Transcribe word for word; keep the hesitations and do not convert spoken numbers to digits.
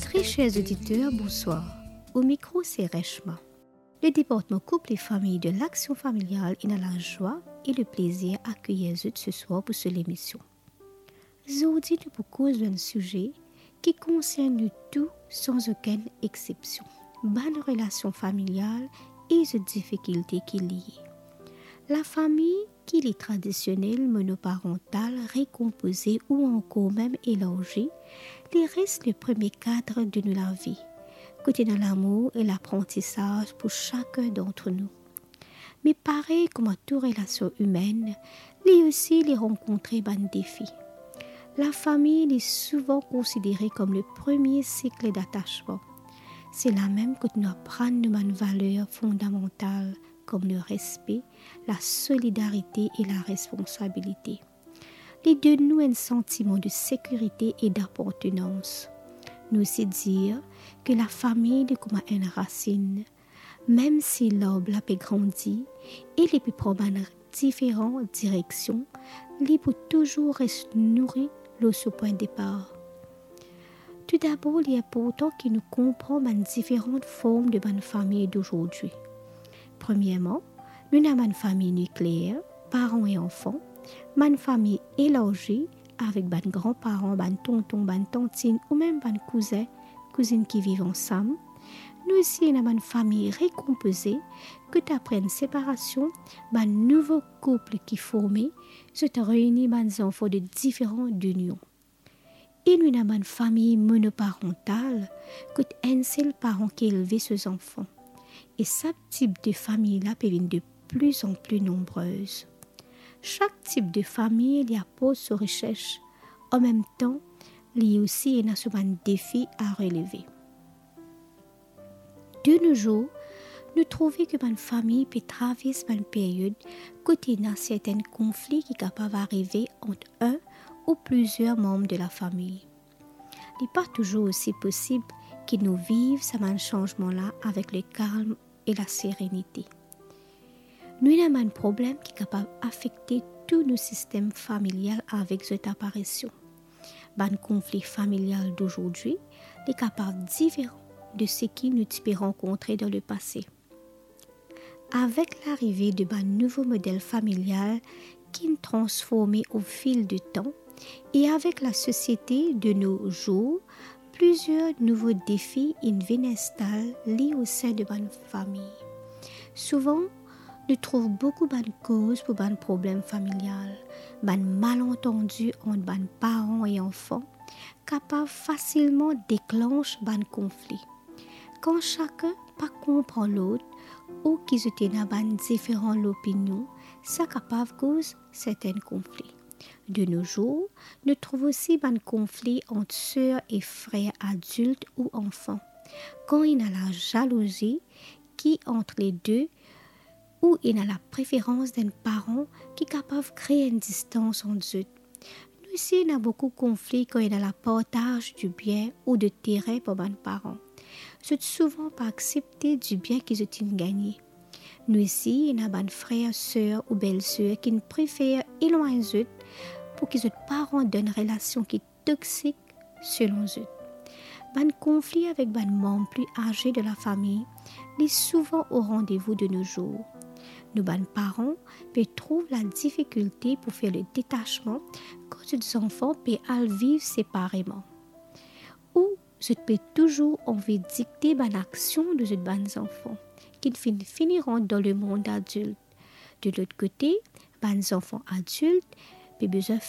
Très chers auditeurs, bonsoir. Au micro, c'est Reshma. Le département couple et famille de l'Action familiale ena lazwa e le plezir akeyir zot ce soir pour so lemision. Zordi nou pou koz enn size ki konsern nou tou san okenn exsepsion, bann relasion familial e zot difikilte ki liye. Lafami, ki li tradisionel, monoparantal, rekonpoze ou ankor mem elarzi, li res le premie kad de nou lavi, kot ena lamour e laprantisaz pou sakenn dant nou. Me parey kouma tou relasion imenn, li osi li rankontre bann defi. Lafami li souvan konsidere kom le premie sik datasman. Se la mem kot nou aprann nou bann valer fondamantal kom le respe, la solidarite e la responsabilite. Li donn nou enn santiman de sekirite e dapartenans. Nou osi dir ke lafami li kouma enn rasinn. Mem si larb la pe grandi e li pe pran bann diferan direksion, li pou touzour res nouri lor so pwin depar. Toudabor, li inportan ki nou konpran bann diferan form de bann fami dozordi. Premierman, nou ena bann fami nikleer, paran e anfan, bann fami elarzi avek bann granparan, bann tonton, bann tantinn ou mem bann kouzin, kouzinn ki viv ansam. Nou osi ena bann fami rekonpoze, kot apre enn separasion, bann nouvo koup ki forme, zot reini bann zanfan de diferan dinion. E nou ena bann fami monoparantal, kot enn sel paran ki elve so zanfan. E sa tip de fami la pe vinn de pli an pli nonbrez. Sak tip de fami li aport so rises, an mem tan, li osi ena so bann defi a releve. De nos jours, nou trouve ki bann fami pe travers bann period kot ena sertin konfli ki kapav arive ant enn ou plizier manm de lafami. Li pa touzour osi posib ki nou viv sa bann sanzman la avek lekalm e laserenite. Nou ena bann problem ki kapav afekte tou nou sistem familial avek zot aparision. Bann konfli familial dozordi, li kapav diferan de seki nou ti pe rankontre dan lepase. Avek larive de bann nouvo model familial ki'nn transforme au fil du temps e avek lasosiete de nos jours, plizier nouvo defi inn vinn instal li o sin de bann fami. Souvan, nou trouv boukou bann koz pou bann problem familial, bann malantandi ant bann paran e anfan kapav fasilman deklans bann konfli. Kan sakenn pa konpran lot ou ki zot ena bann diferan lopinion, sa kapav koz sertin konfli. De nos jours, nou trouv osi bann konfli ant ser e frer adilt ou anfan. Kan ena lazalouzi ki ant le de ou ena lapreferans d'enn paran ki kapav kree enn distans ant zot. Nou osi ena boukou konfli kan ena lapartaz di bien ou de terin par bann paran. Zot souvan pa aksepte dibien ki zot inn gagne. Nou osi ena bann frer, ser ou belser ki'nn prefer elwagn zot pou ki zot pa rant dan enn relasion ki toksik selon zot. Bann konfli avek bann manm pli aze de lafami, li souvan o randevou de nos jours. Nou bann paran pe trouv ladifikilte pou fer le detasman kan zot zanfan pe al viv separeman. Ou zot pe touzour anvi dikte bann aksion de zot bann zanfan, ki'nn finn fini rant dan lemond adilt. De lot kote, bann zanfan adilt pe bizin